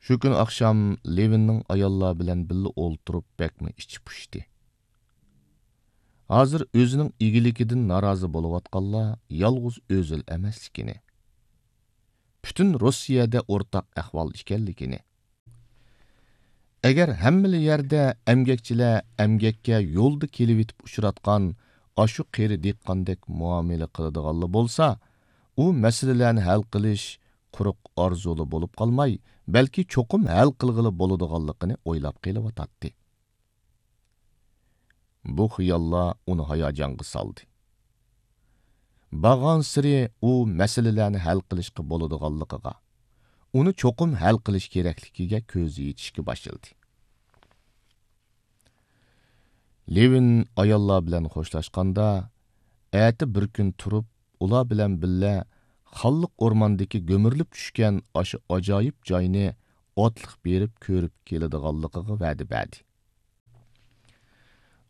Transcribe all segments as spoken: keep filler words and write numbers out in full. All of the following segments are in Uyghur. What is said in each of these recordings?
شۇ كۈنى ئاخشام لېۋىننىڭ ئاياللار بىلەن بىللە ئولتۇرۇپ بەكمۇ ئىچى پۇشتى. ھازىر ئۆزىنىڭ ئىگىلىكىدىن نارازى بولۇۋاتقانلار يالغۇز ئۆزىلا ئەمەسلىكىنى، پۈتۈن روسىيەدە ئورتاق ئەھۋال ئىكەنلىكىنى، ئەگەر ھەممىلا يەردە ئەمگەكچىلەر ئەمگەككە يولدا كېلىۋېتىپ ئۇچراتقان ئاشۇ قېرى دېھقاندەك مۇئامىلە قىلىدىغانلا بولسا، ئۇ مەسىلىلەرنى ھەل قىلىش قۇرۇق ئارزۇلا بولۇپ قالماي، بەلكى چوقۇم ھەل قىلغىلى بولىدىغانلىقىنى ئويلاپ قېلىۋاتاتتى. بۇ خىياللار ئۇنى ھاياجانغا سالدى. بارغانسېرى ئۇ مەسىلىلەرنى ھەل قىلىشقا بولىدىغانلىقىغا، ئۇنى چوقۇم ھەل قىلىش كېرەكلىكىگە كۆزى يېتىشكە باشلىدى. لېۋىن ئاياللار بىلەن خوشلاشقاندا، ئەتە بىر كۈن تۇرۇپ، ئۇلار بىلەن بىللە خانلىق ئورماندىكى گۈمۈرۈلۈپ چۈشكەن ئاشۇ ئاجايىپ جاينى ئاتلىق بېرىپ كۆرۈپ كېلىدىغانلىقىغا ۋەدە بەردى.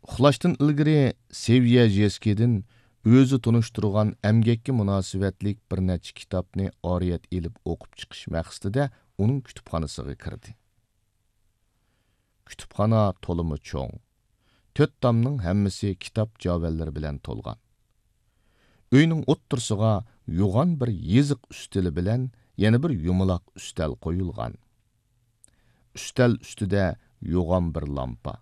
ئۇخلاشتىن ئىلگىرى سېۋيەژېسكىدىن ئۆزى تونۇشتۇرغان ئەمگەككە مۇناسىۋەتلىك بىر نەچچە كىتابنى ئارىيەت ئېلىپ ئوقۇپ چىقىش مەقسىتىدە ئۇنىڭ كۇتۇپخانىسىغا كىردى. كۇتۇپخانا تولىمۇ چوڭ، تۆت تامنىڭ ھەممىسى كىتاب جاۋەنلىرى بىلەن تولغان. ئۆينىڭ ئوتتۇرىسىغا يوغان بىر يېزىق ئۈستىلى بىلەن يەنە بىر يۇمىلاق ئۈستەل قويۇلغان. ئۈستەل ئۈستىدە يوغان بىر لامپا.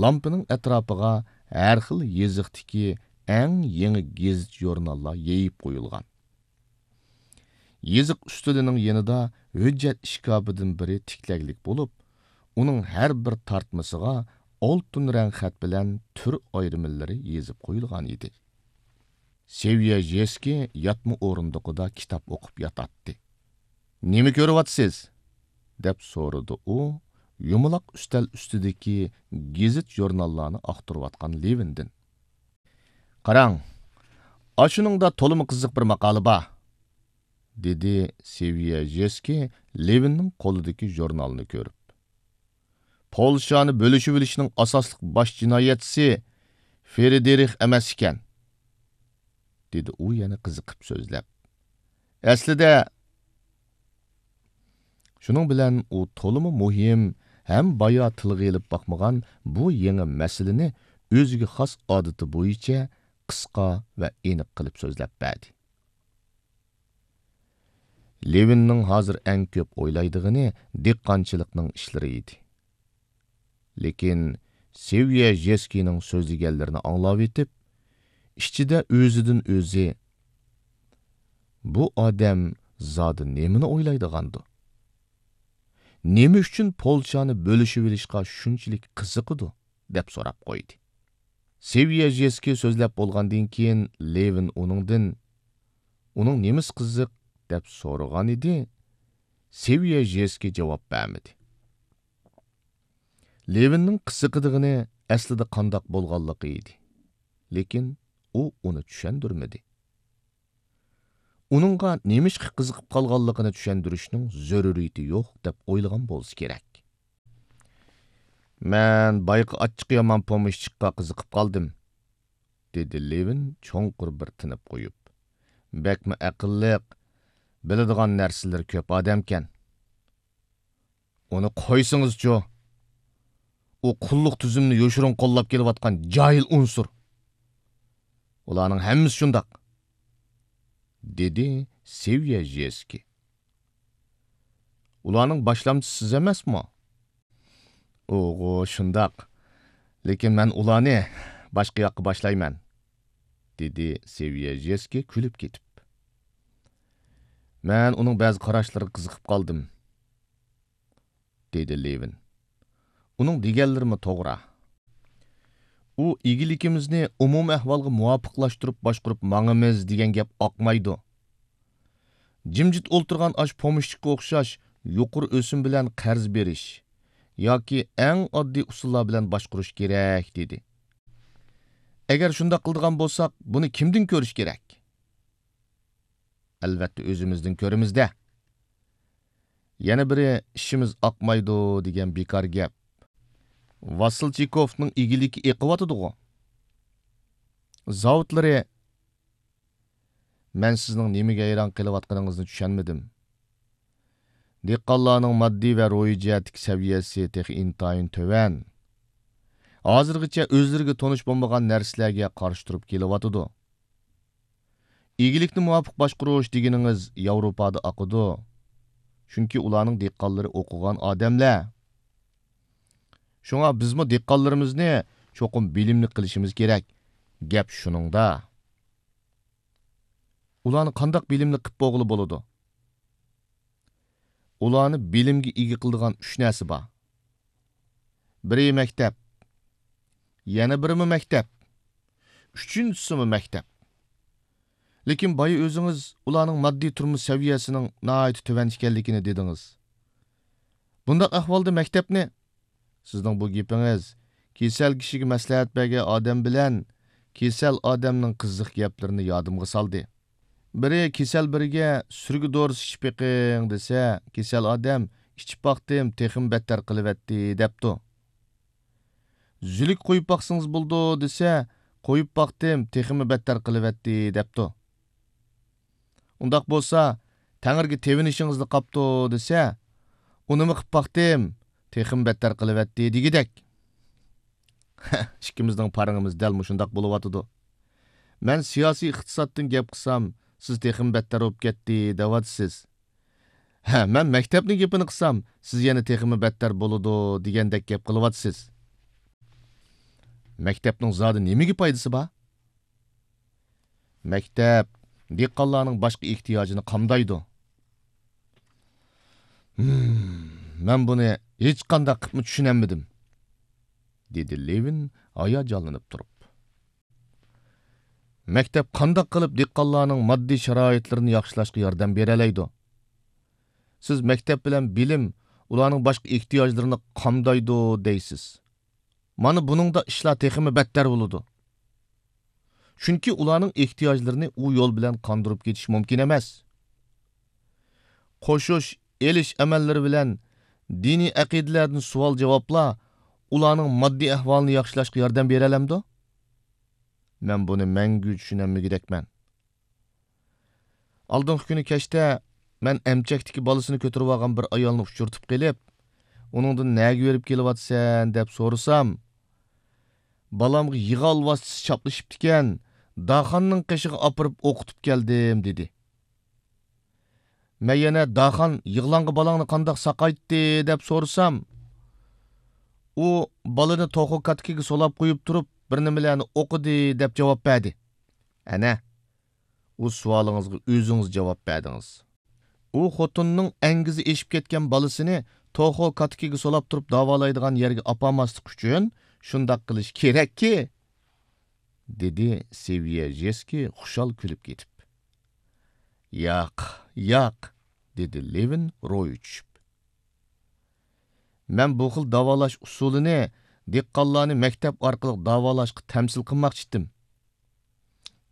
لامپىنىڭ ئەتراپىغا ھەر خىل يېزىقتىكى ئەڭ يېڭى گېزىت-ژۇرناللار يېيىپ قويۇلغان. يېزىق ئۈستىلىنىڭ يېنىدا ھۆججەت ئىشكاپىدىن بىرى تىكلەكلىك بولۇپ، ئۇنىڭ ھەر بىر تارتمىسىغا ئالتۇن رەڭ خەت بىلەن تۈر ئايرىملىرى يېزىپ قويۇلغان ئىدى. سېۋيەژېسكىي ياتما ئورۇندۇقىدا كىتاب ئوقۇپ ياتاتتى. «نېمە كۆرۈۋاتىسىز؟» دەپ سورىدى ئۇ يۇمىلاق ئۈستەل ئۈستىدىكى گېزىت-ژۇرناللارنى ئاختۇرۇۋاتقان لېۋىندىن. «قاراڭ، ئاشۇنىڭدا تولىمۇ قىزىق بىر ماقالە بار»، دېدى سېۋيەژېسكىي لېۋىننىڭ قولىدىكى ژۇرنالنى كۆرۈپ. «پولشانى بۆلۈشۈۋېلىشنىڭ ئاساسلىق باش جىنايەتچىسى فرېدېرىخ ئەمەس ئىكەن»، دېدى ئۇ يەنە قىزىقىپ سۆزلەپ. «ئەسلىدە...» شۇنىڭ بىلەن ئۇ تولىمۇ مۇھىم ھەم بايا تىلغا ئېلىپ باقمىغان بۇ يېڭى مەسىلىنى ئۆزىگە خاس ئادىتى بويىچە قىسقا ۋە ئېنىق قىلىپ سۆزلەپ بەردى. لېۋىننىڭ ھازىر ئەڭ كۆپ ئويلايدىغىنى دېھقانچىلىقنىڭ ئىشلىرى ئىدى. لېكىن سېۋيەژېسكىينىڭ سۆزلىگەنلىرىنى ئاڭلاۋېتىپ، ئىچىدە ئۆزىدىن ئۆزى، «بۇ ئادەم زادى نېمىنى ئويلايدىغاندۇ؟ نېمە ئۈچۈن پولشانى بۆلۈشۈۋېلىشقا شۇنچىلىك قىزىقىدۇ؟» دەپ سوراپ قويدى. سېۋيەژېسكىي سۆزلەپ بولغاندىن كېيىن، لېۋىن ئۇنىڭدىن، «ئۇنىڭ نېمىسى قىزىق؟» دەپ سورىغانىدى. سېۋيەژېسكىي جاۋاب بەرمىدى. لېۋىننىڭ قىزىقىدىغىنى ئەسلىدە قانداق بولغانلىقى ئىدى. لېكىن ئۇ ئۇنى چۈشەندۈرمىدى. ئۇنىڭغا نېمىشقا قىزىقىپ قالغانلىقىنى چۈشەندۈرۈشنىڭ زۆرۈرىيىتى يوق دەپ ئويلىغان بولسا كېرەك. «مەن بايىقى ئاچچىقى يامان پومېشچىكقا قىزىقىپ قالدىم»، دېدى لېۋىن چوڭقۇر بىر تىنىپ قويۇپ. «بەكمۇ ئەقىللىق، بىلىدىغان نەرسىلىرى كۆپ ئادەمكەن.» «ئۇنى قويسىڭىزچۇ؟ ئۇ قۇللۇق تۈزۈمنى يوشۇرۇن قوللاپ كېلىۋاتقان جاھىل ئۇنسۇر. ئۇلارنىڭ ھەممىسى شۇنداق»، دېدى سېۋيەژېسكىي. «ئۇلارنىڭ باشلامچىسى سىز ئەمەسمۇ؟» «ئۇغۇ، شۇنداق. لېكىن مەن ئۇلارنى باشقا ياققا باشلايمەن»، دېدى سېۋيەژېسكىي كۈلۈپ كېتىپ. «مەن ئۇنىڭ بەزى قاراشلىرىغا قىزىقىپ قالدىم»، دېدى لېۋىن. «ئۇنىڭ دېگەنلىرىمۇ توغرا. ئۇ ئىگىلىكىمىزنى ئومۇمىي ئەھۋالغا مۇۋاپىقلاشتۇرۇپ باشقۇرۇپ ماڭىمىز دېگەن گەپ ئاقمايدۇ. جىمجىت ئولتۇرغان ئاشۇ پومېشچىكقا ئوخشاش يۇقىرى ئۆسۈم بىلەن قەرز بېرىش ياكى ئەڭ ئاددىي ئۇسۇللار بىلەن باشقۇرۇش كېرەك» دېدى. «ئەگەر شۇنداق قىلىدىغان بولساق، بۇنى كىمدىن كۆرۈش كېرەك؟» «ئەلۋەتتە، ئۆزىمىزدىن كۆرىمىز-دە. يەنە بىرى، ئىشىمىز ئاقمايدۇ دېگەن بىكار گەپ. ۋاسىلچىكوفنىڭ ئىگىلىكى ئېقىۋاتىدىغۇ؟ زاۋۇتلىرى...» «مەن سىزنىڭ نېمىگە ھەيران قېلىۋاتقىنىڭىزنى چۈشەنمىدىم. دېھقانلارنىڭ ماددىي ۋە روھىي جەھەتتىكى سەۋىيەسى تېخى ئىنتايىن تۆۋەن. ھازىرغىچە ئۆزلىرىگە تونۇش بولمىغان نەرسىلەرگە قارشى تۇرۇپ كېلىۋاتىدۇ. ئىگىلىكنى مۇۋاپىق باشقۇرۇش دېگىنىڭىز ياۋروپادا ئاقىدۇ. چۈنكى ئۇلارنىڭ دېھقانلىرى ئوقۇغان ئادەملەر. شۇڭا بىزمۇ دېھقانلىرىمىزنى چوقۇم بىلىملىك قىلىشىمىز كېرەك. گەپ شۇنىڭدا. ئۇلارنى قانداق بىلىملىك قىلىپ بولغىلى بولىدۇ؟ ئۇلارنى بىلىمگە ئىگە قىلىدىغان ئۈچ نەرسە بار. بىرى مەكتەپ، يەنە بىرىمۇ مەكتەپ، ئۈچىنچىسىمۇ مەكتەپ. لېكىن بايا ئۆزىڭىز ئۇلارنىڭ ماددىي تۇرمۇش سەۋىيەسىنىڭ ناھايىتى تۆۋەن ئىكەنلىكىنى دېدىڭىز. بۇنداق ئەھۋالدا مەكتەپنى، سىزنىڭ بۇ گېپىڭىز كېسەل كىشىگە مەسلىھەت بەرگەن ئادەم بىلەن كېسەل ئادەمنىڭ قىزىق گەپلىرىنى يادىمغا سالدى. بىرى كېسەل بىرىگە سۈرگە دورىسى ئىچىپ بېقىڭ دېسە، كېسەل ئادەم ئىچىپ باقتىم، تېخىمۇ بەتتەر قىلىۋەتتى دەپتۇ. زۈلۈك قويۇپ باقسىڭىز بولىدۇ دېسە، قويۇپ باقتىم، تېخىمۇ بەتتەر قىلىۋەتتى دەپتۇ. ئۇنداق بولسا، تەڭرىگە تېۋىنىشىڭىزلا قاپتۇ دېسە، ئۇنىمۇ قىپ باقتىم، تېخىمۇ بەتتەر قىلىۋەتتى دېگۈدەك. ئىككىمىزنىڭ پارىڭىمىز دەل مۇشۇنداق بولۇۋاتىدۇ. مەن سىياسىي ئىقتىسادتىن گەپ قىلسام، سىز تېخىمۇ بەتتەر بولۇپ كەتتى دەۋاتىسىز. ھە، مەن مەكتەپنىڭ گېپىنى قىلسام، سىز يەنە تېخىمۇ بەتتەر بولىدۇ دېگەندەك گەپ قىلىۋاتىسىز. مەكتەپنىڭ زادى نېمىگە پايدىسى بار؟ مەكتەپ دېھقانلارنىڭ باشقا ئېھتىياجىنى قامدايدۇ. ھىم، مەن بۇنى ھېچقانداق قىپمۇ چۈشىنەلمىدىم، دېدى لېۋىن ھاياجانلىنىپ تۇرۇپ. مەكتەپ قانداق قىلىپ دېھقانلارنىڭ ماددىي شارائىتلىرىنى ياخشىلاشقا ياردەم بېرەلەيدۇ؟ سىز مەكتەپ بىلەن بىلىم ئۇلارنىڭ باشقا ئېھتىياجلىرىنى قامدايدۇ دەيسىز. مانا بۇنىڭدا ئىشلار تېخىمۇ بەتتەر بولىدۇ. چۈنكى ئۇلارنىڭ ئېھتىياجلىرىنى ئۇ يول بىلەن قاندۇرۇپ كېتىش مۇمكىن ئەمەس. قوشۇش، ئېلىش ئەمەللىرى بىلەن دىنىي ئەقىدىلەردىن سوئال-جاۋابلار ئۇلارنىڭ ماددىي ئەھۋالىنى ياخشىلاشقا ياردەم بېرەلەمدۇ؟ مەن بۇنى مەڭگۈ چۈشىنەلمىگۈدەكمەن. ئالدىنقى كۈنى كەچتە مەن ئەمچەكتىكى بالىسىنى كۆتۈرۈۋالغان بىر ئايالنى ئۇچرىتىپ قېلىپ، ئۇنىڭدىن نەگە بېرىپ كېلىۋاتىسەن دەپ سورىسام، بالامغا يىغا ئالۋاستىسى چاپلىشىپتىكەن، داخاننىڭ قېشىغا ئاپىرىپ ئوقۇتۇپ كەلدىم دېدى. مەن يەنە داخان يىغلاڭغا بالاڭنى قانداق ساقايتتى دەپ سورىسام، ئۇ بالىنى توخۇ كاتىكىگە سولاپ قويۇپ تۇرۇپ بىر نېمىلەرنى ئوقۇدى دەپ جاۋاب بەردى. ئەنە، ئۇ سوئالىڭىزغا ئۆزىڭىز جاۋاب بەردىڭىز. ئۇ خوتۇننىڭ ئەڭگۈزى ئېشىپ كەتكەن بالىسىنى توخۇ كاتىكىگە سولاپ تۇرۇپ داۋالايدىغان يەرگە ئاپارماسلىق ئۈچۈن شۇنداق قىلىش كېرەككى، دېدى سېۋيېژېسكىي خۇشال كۈلۈپ كېتىپ. ياق، ياق، دېدى لېۋىن روھى چۈشۈپ. مەن بۇ خىل داۋالاش ئۇسۇلىنى دېھقانلارنى مەكتەپ ئارقىلىق داۋالاشقا تەمسىل قىلماقچىتىم.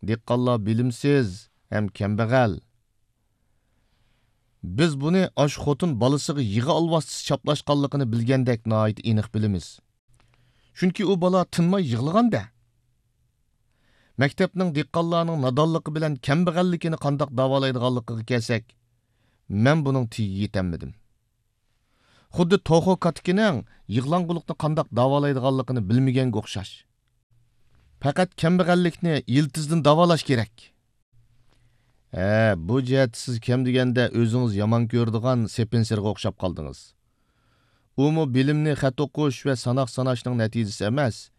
دېھقانلار بىلىمسىز ھەم كەمبەغەل. بىز بۇنى ئاشۇ خوتۇن بالىسىغا يىغا ئالۋاستىسى چاپلاشقانلىقىنى بىلگەندەك ناھايىتى ئېنىق بىلىمىز. چۈنكى ئۇ بالا تىنماي يىغلىغان-دە. مەكتەپنىڭ دېھقانلارنىڭ نادانلىقى بىلەن كەمبەغەللىكىنى قانداق داۋالايدىغانلىقىغا كەلسەك، مەن بۇنىڭ تېگىگە يېتەلمىدىم. خۇددى توخۇ كاتىكىنىڭ يىغلاڭغۇلۇقنى قانداق داۋالايدىغانلىقىنى بىلمىگەنگە ئوخشاش. پەقەت كەمبەغەللىكنى يىلتىزدىن داۋالاش كېرەك. ھە، بۇ جەھەتتە سىز كەم دېگەندە ئۆزىڭىز يامان كۆرىدىغان سېپېنسېرغا ئوخشاپ قالدىڭىز. ئۇمۇ بىلىمنى خەت ئوقۇش ۋە ساناق ساناشنىڭ نەتىجىسى ئەمەس،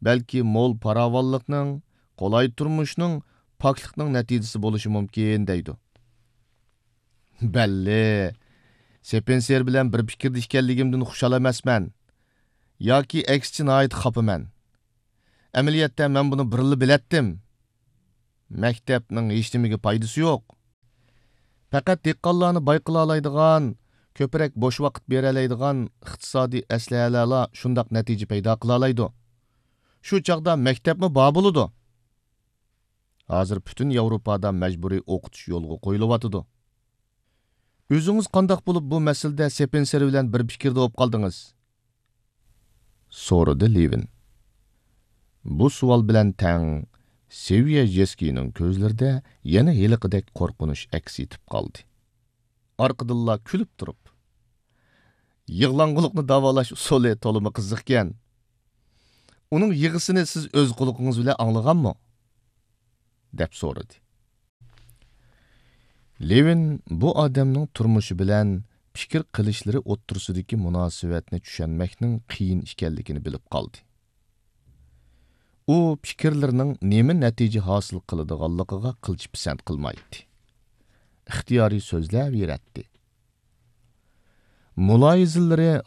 بەلكى مول پاراۋانلىقنىڭ، قولاي تۇرمۇشنىڭ، پاكلىقنىڭ نەتىجىسى بولۇشى مۇمكىن، دەيدۇ. بەللى، سېپېنسېر بىلەن بىر پىكىردە ئىكەنلىكىمدىن خۇشال ئەمەسمەن. ياكى ئەكسىچە ناھايىتى خاپىمەن. ئەمەلىيەتتە مەن بۇنى بۇرۇنلا بىلەتتىم. مەكتەپنىڭ ھېچنېمىگە پايدىسى يوق. پەقەت دېھقانلارنى باي قىلالايدىغان، كۆپرەك بوش ۋاقىت بېرەلەيدىغان ئىقتىسادىي ئەسلىھەلەرلا شۇنداق نەتىجە پەيدا قىلالايدۇ. شۇ چاغدا مەكتەپمۇ بار بولىدۇ. ھازىر پۈتۈن ياۋروپادا مەجبۇرىي ئوقۇتۇش يولغا قويۇلۇۋاتىدۇ. ئۆزىڭىز قانداق بولۇپ بۇ مەسىلىدە سېپېنسېر بىلەن بىر پىكىردە بولۇپ قالدىڭىز؟ سورىدى لېۋىن. بۇ سوئال بىلەن تەڭ سېۋيەژېسكىينىڭ كۆزلىرىدە يەنە ھېلىقىدەك قورقۇنچ ئەكس ئېتىپ قالدى. ئارقىدىنلا كۈلۈپ تۇرۇپ، يىغلاڭغۇلۇقنى داۋالاش ئۇسۇلى تولىمۇ قىزىقكەن. ئۇنىڭ يىغىسىنى سىز ئۆز قۇلىقىڭىز بىلەن ئاڭلىغانمۇ؟ دەپ سورىدى. لېۋىن بۇ ئادەمنىڭ تۇرمۇشى بىلەن پىكىر قىلىشلىرى ئوتتۇرىسىدىكى مۇناسىۋەتنى چۈشەنمەكنىڭ قىيىن ئىكەنلىكىنى بىلىپ قالدى. ئۇ پىكىرلىرىنىڭ نېمە نەتىجە ھاسىل قىلىدىغانلىقىغا قىلچە پىسەنت قىلمايتتى. ئىختىيارىي سۆزلەۋېرەتتى. مۇلاھىزىلىرى